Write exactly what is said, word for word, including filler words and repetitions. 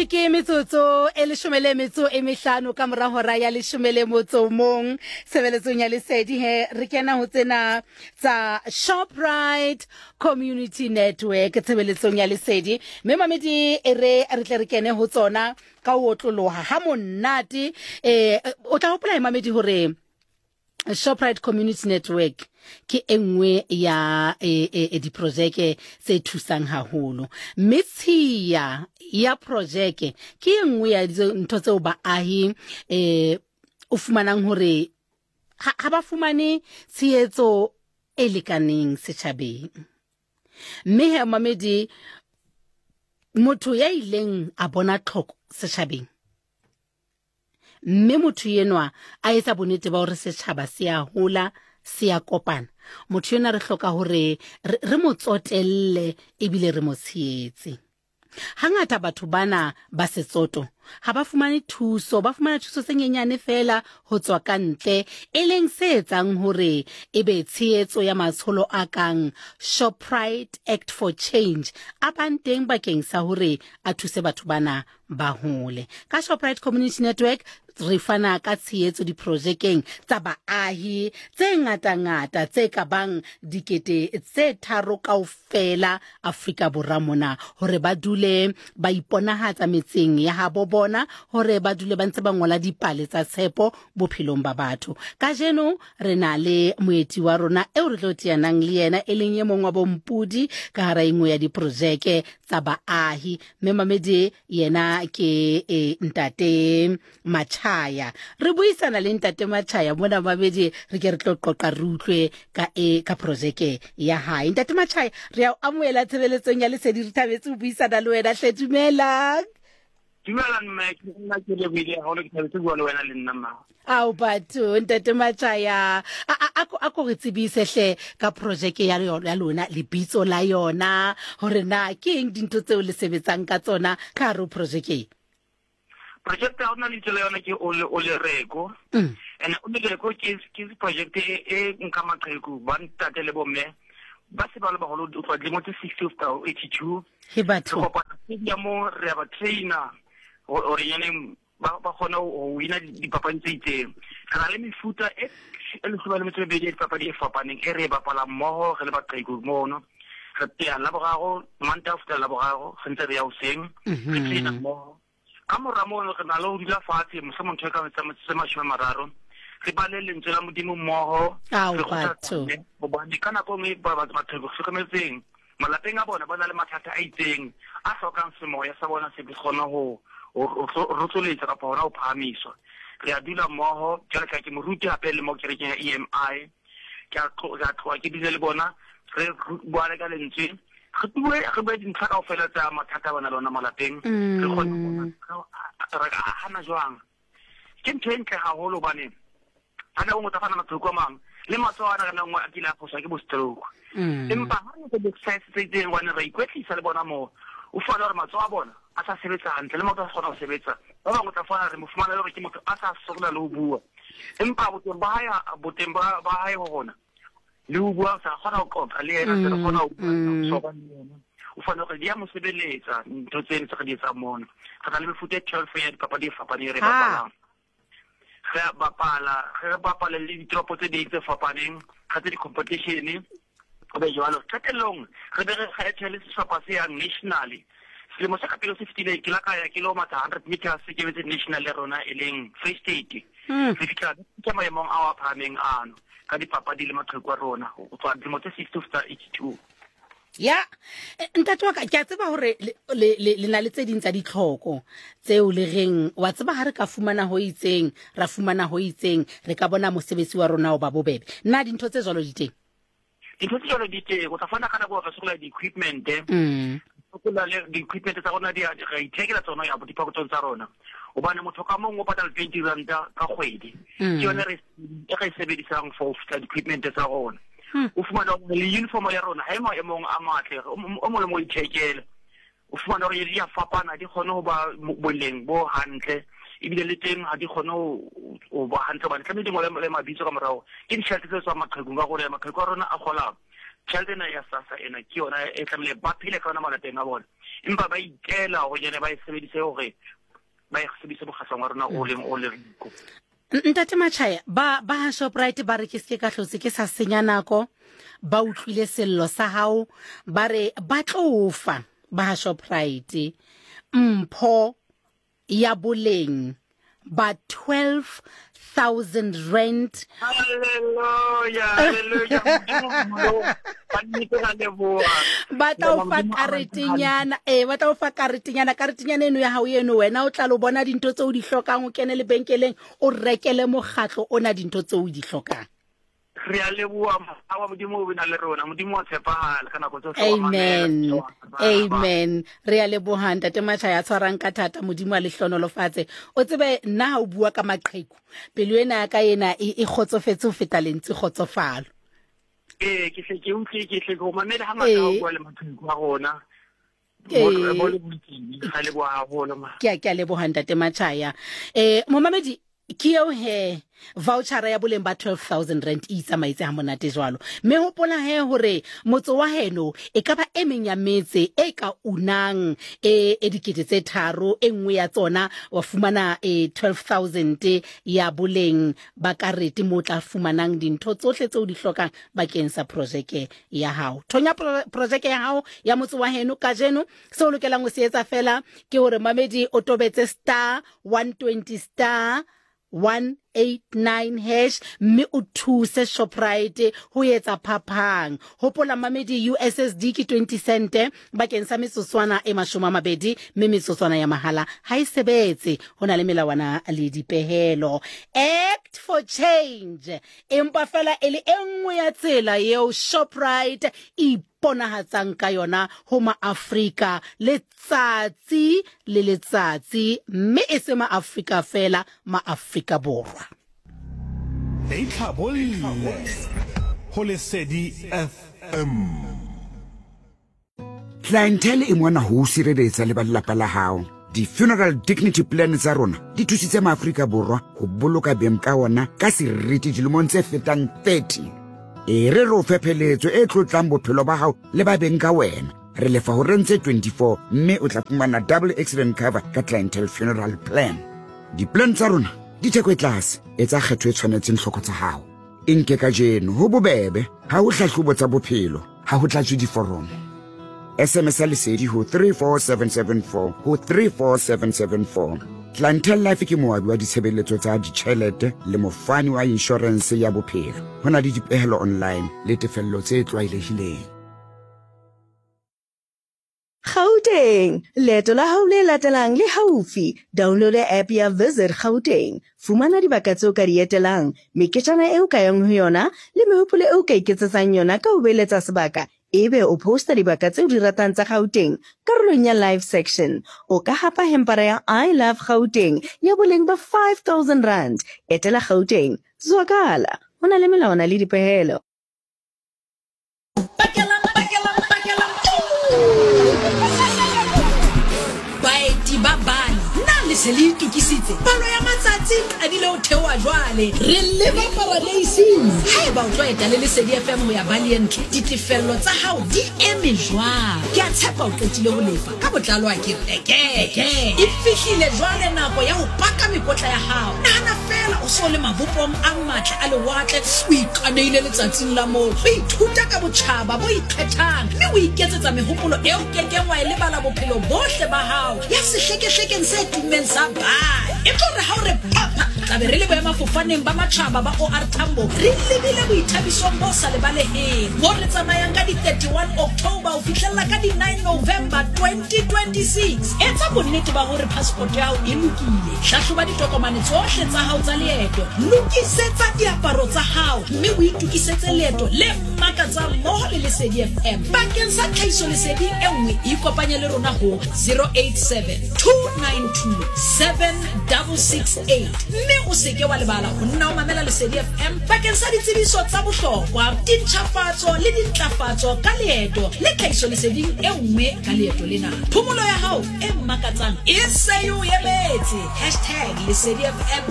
Ke metsotso e leshome le metso e mehlano ka mora hora ya leshome le motso mong tshebeletsong ya Lesedi. He re kena ho tsena tsa Shoprite Community Network tshebeletsong ya Lesedi, mme mamedi e re re tle re kene ho tsona ka ho otloloha ha monate. eh o tla hopola, mamedi, hore Shoprite Community Network ke e nngwe ya e, e, e diprojeke tse thusang haholo, mme tshiya ya projeke ke e nngwe ya ntho tseo baahi eh o fumanang hore ha, ha ba fumane tshehetso e lekaneng setjhabeng. Mme he, mamedi, motho ya ileng a bona tlhoko setjhabeng, mme motho enwa a etsa bonnete ba hore setjhaba se a hola, se a kopana, motho enwa re hloka hore re mo tsotelle ebile re mo tshehetse. Hangata batho bana ba setsoto ha ba fumane thuso, ba fumana thuso tse nyenyane fela ho tswa ka ntle, e leng se etsang hore ebe tshehetso ya matsholo a kang Shoprite Act for Change a bang teng bakeng sa hore a thuse batho bana ba hole. Ka Shoprite Community Network re fana ka tshehetso diprojekeng tsa baahi tse ngatangata tse ka bang dikete tse tharo kaofela Afrika Borwa mona, hore ba dule ba iponahatsa metseng ya habo bona, hore ba dule ba ntse ba ngola dipale tsa tshepo bophelong ba batho. Kajeno re na le moeti wa rona eo re tlo teanang le yena, e leng e mong wa bompudi ka hara e nngwe ya diprojeke tsa baahi, mme mamedi yena ke e, Ntate Machaya. Re buisana le Ntate Machaya mona, mamedi, re ke re tlo qoqa, re utlwe ka e ka projeke ya hae. Ntate Machaya, re a o amohela tshebeletsong ya Lesedi, re thabetse ho buisana le wena hle. Dumelang. Dumela mme, ke nna ke lebohile haholo, ke thabetse bua le wena le nna mma. Ao batho, Ntate Machaya, a ko re tsebise hle ka projeke ya ya lona, lebitso la yona, hore na ke eng dintho tseo le sebetsang ka tsona ka hare ho projeke. Project ya rona lebitso la yona ke o le o lereko. Mm. And o lereko ke ke project e e nka maqheku ba ntate le bomme ba se ba le baholo ho tloha dilemo tse sixty ho fihla ho eighty two. He Re batho. kopana stadium, re ya ba trainer hore nyaneng ba ba kgone ho wina dipapadi tse itseng. Re na le mefuta e e leshome le metso e mebedi ya dipapadi e fapaneng e re e bapalang mmoho re le baqheku mono. Re teya Laboraro, Mantaha ho fihlela Laboraro, re ntse re ya hoseng, re trainer mmoho. Ka mora mono re na le ho dula fatshe mohlomong ntho e ka tse mashome a mararo, re bale lentswe la Modimo mmoho. Ao re batho. Kgothatsane, hobane ka nako e nngwe ba batho hlokometseng malapeng a bona ba na le mathata a itseng a hlokang semoya sa bona se kgone ho rotsoletsa kapa hona ho phahamiswa. Re a dula mmoho jwale ka ke moruti hape le mo kerekeng ya E M I. Ke a tloha ke dule le bona, re buane ka lentswe, re bue re bue dintlha kaofela tsa mathata a bona le ona malapeng, re kgone ho bona re ka ahana jwang. Ke ntho e ntle haholo hobane ha nako nngwe tsa fana maqheku a mang le matsoho ana ka nako nngwe a kile a phoswa ke bo stroke, empa ha re etsa di-exercise tse itseng, hobane ra ikwetlisa le bona moo, o fumane hore matsoho a bona a sa sebetsa hantle le maoto a sa kgona ho sebetsa. Ba bangwe o tla fumana re mo fumana le hore ke motho a sa sokola le ho bua, empa boteng ba hae boteng ba ba hae ho rona le ho bua sa kgona ho qoqa le yena, se re kgona ho bua soba le yena, o fumane hore di a mo sebeletsa ntho tseno tse re di etsang mono. Re na le mefuta e twelve ya dipapadi e fapaneng re bapalang. Re a bapala, re bapale le ditoropo tse ding tse fapaneng, re tse di-competition ho be jwalo. Qetellong re be re kgethe le sehlopha se yang nationally. Selemo se ka pele se fetileng ke la ka ya ke lo matha hundred meters, ke betse national ya rona e leng Free State. Mm. Re fihla ke maemong ao a phahameng ano ka dipapadi le maqheku a rona ho tloha dilemo tse sixty ho fihla eighty two. Ya, eh, ntate wa ka, ke a tseba hore le le le le na le tse ding tsa ditlhoko tseo le reng wa tseba ha re ka fumana ho itseng, ra fumana ho itseng, re ka bona mosebetsi wa rona o ba bobebe. Na dintho tse jwalo di teng? Dintho tse jwalo di teng. O tla fana ka nako re sokola di-equipment. Mm. Sokola le di-equipment tsa rona, di a- re ithekela tsona ya diphokothong tsa rona, hobane motho ka mong o patala twenty ranta ka kgwedi. Mm. Ke yone re e re e sebedisang for ho fihla di-equipment tsa rona. Hmm. O fumana hore le uniform ya rona ha e maemong a matle, o o mong le mong o ithekele. O fumana hore di a fapana, di kgone ho ba mo- boleng bo hantle, ebile le teng ha di kgone ho ho ba hantle hobane tlamehile di ngole le mabitso ka morao. Ke ditjhelete tse tswang maqhekung, ka gore maqheku a rona a kgolang tjhelete ena ya SASSA ena ke yona e tlamehile ba phele ka yona malapeng a bona. Empa ba itela hore jene ba e sebedise hore ba e sebedise mokgatlong wa rona o leng o Leriko. Ntate Machaya, ba ba ha Shoprite ba re ke se ka hlotse ke sa senya nako, ba utlwile sello sa hao, ba re ba tlo fa ba ha Shoprite mpho ya boleng ba twelve thousand rand. Hallelujah, hallelujah. Ba tla o fa karetenyana, eh ba tla o fa karetenyana, karetenyana eno ya hao eno wena o tla lo bona dintho tseo di hlokang, o kene lebenkeleng o rekele mokgatlo ona dintho tseo di hlokang. Re a leboha wa Modimo o bina le rona, Modimo wa tshepahala ka nako tsohle. Amen, amen. Re a leboha Ntate Machaya, tshwarang ka thata, Modimo a le hlonolofatse. O tsebe nna ha o bua ka maqheku, pelo ena ya ka ena e kgotsofetse ho feta lentsi kgotsofalo. Ee, ke hle ke utlwe, ke hle ke o mamele ha ngata o bua le maqheku a rona. Ke a ke a leboha Ntate Machaya. Eh momamedi, ke eo he voucher ya boleng ba twelve thousand rand e itsamaetse ha monate jwalo. Mme hopola he hore motse wa heno e ka ba e meng ya metse e ka unang e e dikete tse tharo, e nngwe ya tsona wa fumana e twelve thousand ya boleng ba karete mo tla fumanang dintho tsohle tseo di hlokang bakeng sa projeke ya hao. Thonya projeke ya hao ya motse wa heno kajeno. Seo lokelang ho se etsa fela ke hore mamedi o tobetse star one twenty star one eight nine hash mme o thuse Shoprite ho etsa phapang. Hopola mamedi, U S S D ke twenty cent bakeng sa metsotswana e mashome a mabedi, mme metsotswana ya mahala ha e sebetse. Ho na le melawana le dipehelo. Act for change empa fela e le e nngwe ya tsela eo Shoprite e iponahatsang ka yona ho maAfrika letsatsi le letsatsi, mme e se maAfrika fela, maAfrika Borwa. Itlhabolle ho Lesedi F M. Clientele e mona ho sireletsa le ba lelapa la hao. Di-funeral dignity plan tsa rona di thusitse maAfrika Borwa ho boloka beng ka ona ka seriti dilemong tse fetang thirty. E re re o fe pheletso e tlotlang bophelo ba hao le ba beng ka wena. Re lefa ho rentse twenty-four mme o tla fumana double accident cover ka Clientele funeral plan. Di-plan tsa rona di theko e tlase, etsa kgetho e tshwanetseng hloko tsa hao. E nke kajeno ho bobebe, ha ho hlahlobo tsa bophelo, ha ho tlatswe diforomo. S M S Lesedi ho three four seven seven four ho three four seven seven four. Clientele Life ke moabi wa ditshebeletso tsa ditjhelete le mofani wa insurance ya bophelo. Ho na le dipehelo online le tefello tse tlwaelehileng. Gauteng, leeto la hao le latelang le haufi. Download app ya Visit Gauteng. Fumana dibaka tseo ka di etelang, meketjana eo ka yang ho yona le mehopolo eo ka iketsetsang yona ka ho beeletsa sebaka. Ebe o posta dibaka tseo di ratang tsa Gauteng karolong ya live section. O ka hapa hempara ya I Love Gauteng ya boleng ba five thousand rand. Etela Gauteng, zwakala. Ho na le melawana le dipehelo. Baeti ba bane nna le se le itokisitse, palo ya matsatsi qadile ho theoha jwale. Re leba paradeising. Haeba o tlo eta le Lesedi F M ho ya Bali entle, ditefello tsa hao di eme jwang? Ke a tshepa o qetile ho lefa ka botlalo, a ke re eke e fihlile jwale nako ya ho paka mekotla ya hao. Nahana fela o so le mabopong a matle a lewatle, o ikaneile letsatsing la moo, o ithuta ka botjhaba bo ikgethang, mme o iketsetsa mehopolo eo kekeng wa e lebala bophelo bohle ba hao ya sehlekehlekeng se tummeng sa Bali. E tlo re ha o re papa, tla be re le boemafofaneng ba matjhaba ba O R Tambo, re lebile boithabisong bo sa lebaleheng mo re tsamayang ka di thirty-one October ho fihlella ka di nine November twenty twenty-six. Etsa bonnete ba hore passport ya hao e lokile, hlahloba ditokomane tsohle tsa hao tsa leeto, lokisetsa diaparo tsa hao mme o itokisetse leeto le makatsang mmoho le Lesedi F M. Bakeng sa tlhahisoleseding e nngwe, ikopanye le rona ho zero eight seven two nine two seven double six eight mme o seke wa lebala ho nna o mamela Lesedi F M bakeng sa ditsebiso tsa bohlokwa, dintjhafatso le dintlafatso ka leeto le tlhahisoleseding e nngwe ka leeto lena. Phomolo ya hao e makatsang e se e o emetse. Hashtag Lesedi F M.